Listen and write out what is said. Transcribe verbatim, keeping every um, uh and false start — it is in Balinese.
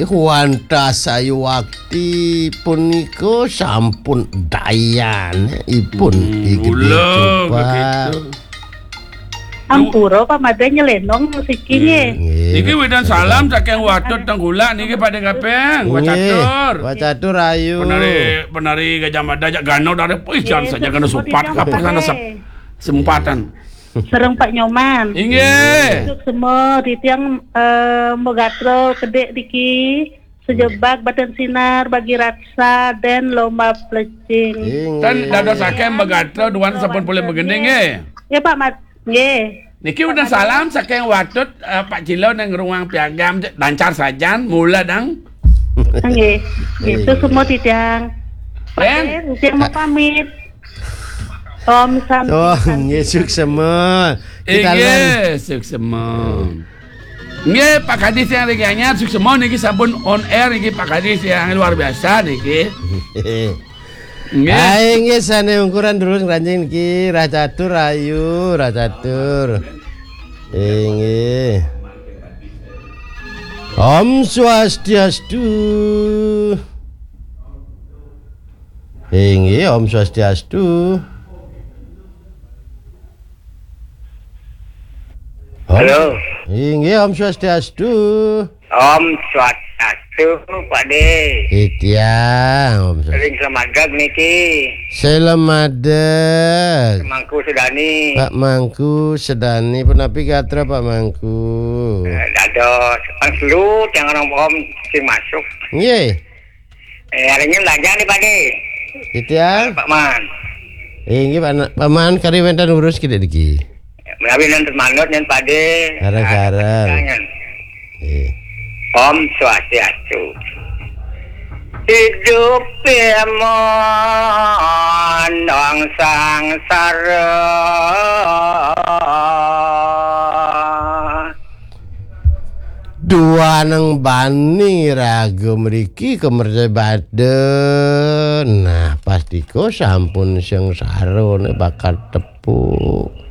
Wantah sayuwakti punika sampun dayanipun. Hmm, Ing Gedé mula Coba. Begitu. Ampura, Pak Madé nyelénong siki nggih. Nggih. Niki wédang salam saking Watut Tengkulak niki Pak Dé Kaping. Nggih. Wacatur. Wacatur ayu. Penari, penari Gajah Mada jak gano dari, wih, jan saja kena sempat. Kapan sana sep-, sempatan. Sareng Pak Nyoman. Inggih. Suksma titiang, eh, Mbok Gatra Kedék niki, Sejebak Badan Sinar, Bagi Raksa, dan Lomba Plecing. Inggih. Tan dados akeh Mbok Gatra duan sampun polih begending nggih. Ya, Pak Mat. Nggih. Niki udah salam saking Watut, eh, Pak Cilo nang ruang piagam, lancar sajan, mula dang. Nggih. Nggih, suksma titiang. Pak Dé, titiang mau pamit. Om Santi. Oh, Santi. Nggih, suksma. Kita inggih, suksma. Nggih, Pak Kadis yang lagi anyar, suksma niki sampun on air niki Pak Kadis yang luar biasa niki. Nggih. Ayo nggih, sané ungkuran durus ngranjing niki, rah catur ayu, rah catur. Inggih. Om Swastiastu. Inggih, Om Swastiastu. Om. Halo. Inggih, Om Swastiastu. Om Swastiastu, Pak Dé. Titiang, Om Swastiastu. Ring Selamadeg niki. Selamadeg. Mangku Sedani. Pak Mangku Sedani, punapi gatra Pak Mangku? Eh, dados. Kan selu tiang orang Om sing masuk. Nggih. Eh, arenya belajar nih, Pak Dé. Titiang? Pak Man. Eh, inggih, Pak Na-, Pak Man, kari wénten urus kidik niki. Menawi nanti manut nyen, Pak Dé. Sareng-sareng. Ada pertanyaan. Eh. Om Swastiastu. Hidup ya mondong sangsara. Duaneng bani raga mriki kemercebada. Nah, pastika sampun sengsara ne bakal tepuk.